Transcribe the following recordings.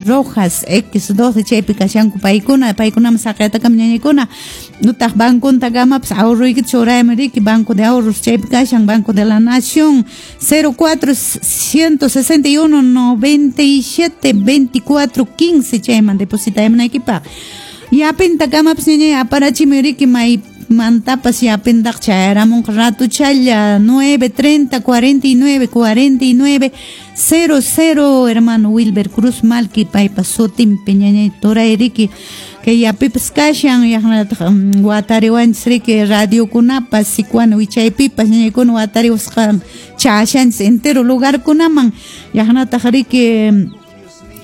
Rojas X12 chaypi kashanku paykuna, paykunaman saqiytakama ñañaykuna, utaq bancontakamapas ahorroykita churayman riki, Banco de Ahorros chaypi kashan, Banco de la Nación 04 161 97 24 15 chayman depositaymunaykipaq. Yapintakamapas ñañay aparachimuy riki maymantapas yapintaq chayaramunqa ratuchalla 9 30 49 49 00 hermano Wilber Cruz Malki paypa sutinpi ñañay turay riki kay yapipas kashan yaqnataq watariwanchis riki radiokunapas Sicuani wichaypipas ñañaykuna watariwasqa chashanchis entero lugarkunaman yaqnataq riki.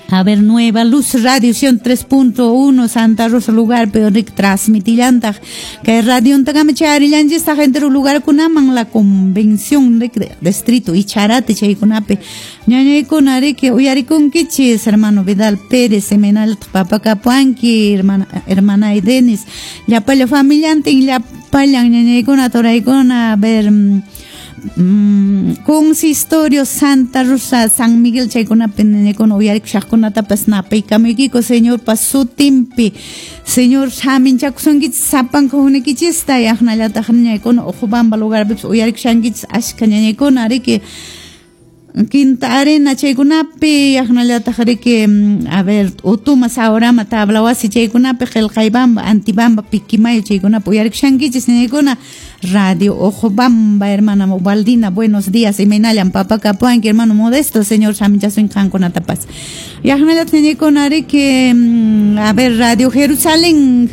A ver, Nueva Luz Radio 3.1 Santa Rosa lugar, pero rik transmitillantaq kay radiontakama chayarillanchistaq entero lugarkunaman la convención distrito Icharate chaykunapi ñañaykuna riki uyarikunkichis hermano Vidal Pérez imaynallataq papa kapuanki hermana hermana Denis llapalla familiantin llapallan ñañaykuna turaykuna. A ver, consistorio Santa Rosa San Miguel chaykunapi ñañaykuna uyarikushaqkunatapas napaykamuykiku Señorpa sutinpi. Señor saminchakusunkichis sapanka hukniykichista yaqnallataq ñañaykuna Uqubamba lugarpipas uyarikushankichis ashka ñañaykuna riki Quinta Arena chaykunapi yaqnallataq riki a ver, Utuma Saurama Tablawasi chaykunapi Qillqaybamba Antibamba Piquimayo chaykunapi uyarikushankichis ñañaykuna Radio Ojobamba hermana Ubaldina buenos días imaynallan papa kapuanki hermano Modesto Señor saminchasun qankunatapas yaqnallataq ñañaykuna riki a ver, Radio Jerusalén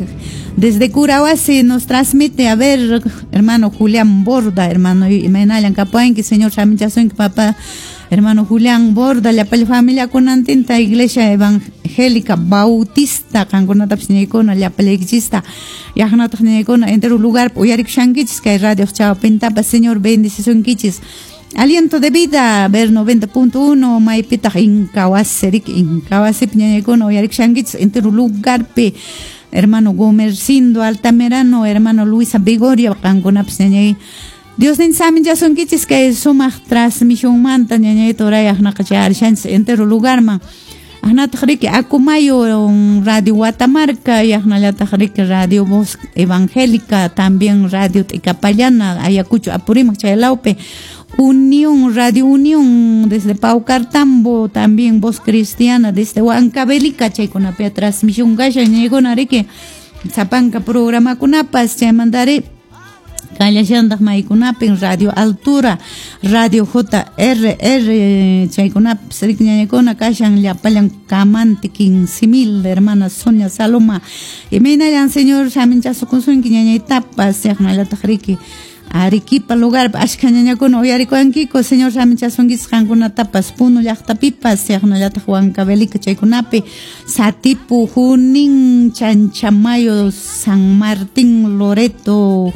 desde Curahuasi nos transmite, a ver, hermano Julián Borda, hermano imaynallan kapuanki Señor saminchasunki papá hermano Julián Borda, llapalla familia kunantinta Iglesia Evangélica Bautista qankunatapas ñaykuna llapallaykichista yaqnataq ñaykuna entero lugar uyarikushankichis kay radio chawpintapas Señor bendicisunkichis. Aliento de Vida, ver 90.1, maypitaq Incahuasi, riki Incahuasipi ñañaykuna uyarikushankichis entero lugarpi hermano Gomercindo Altamirano, hermano Luisa Vigoria, qankunapas ñañay Dios nin saminchasunkichis kay sumaq transmisionmanta ñañay turay aqnaqa chayarishanchis entero lugarman aqnataq riki Acomayo Radio Guatamarca yaqnallataq riki Radio Voz Evangélica también Radio T'ikapallana Ayacucho Apurímac chay lawpi Unión Radio Unión desde Paucartambo también Voz Cristiana desde Huancavelica chaykunapi transmisión kashan ñañaykuna riki sapanka programakunapas chaymantari kallashantaq maykunapin Radio Altura, Radio JRR chaykunapis riki ñañaykuna kashan llapallan Camante 15.000 hermana Sonia Saloma imaynallan Señor saminchasukusunki ñañaytapas yaqnallataq riki Arequipa lugar ashka ñañakuna uyarikuwankiku Señor saminchasunkichis qankunatapas Puno llaqtapipas yaqnallataq Huancavelica chaykunapi Satipo, Junín, Chanchamayo, San Martín, Loreto,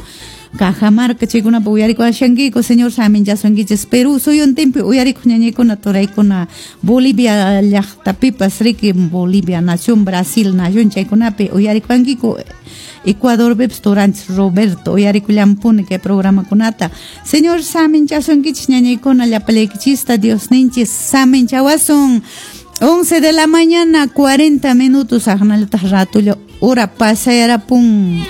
Cajamarca chaykunapi uyarikuwashankiku Señor saminchasunkichis Perú suyuntinpi uyarikuq ñañaykuna turaykuna Bolivia llaqtapipas riki Bolivia nación Brasil nación chaykunapi uyarikuwankiku Ecuadorpipas turanchis Roberto uyarikullampuni kay programakunata Señor saminchasunkichis ñañaykuna llapallaykichista Dios ninchis saminchawasun. 11 de la mañana 40 minutos aqnallataq ratulla hora pasayarapun.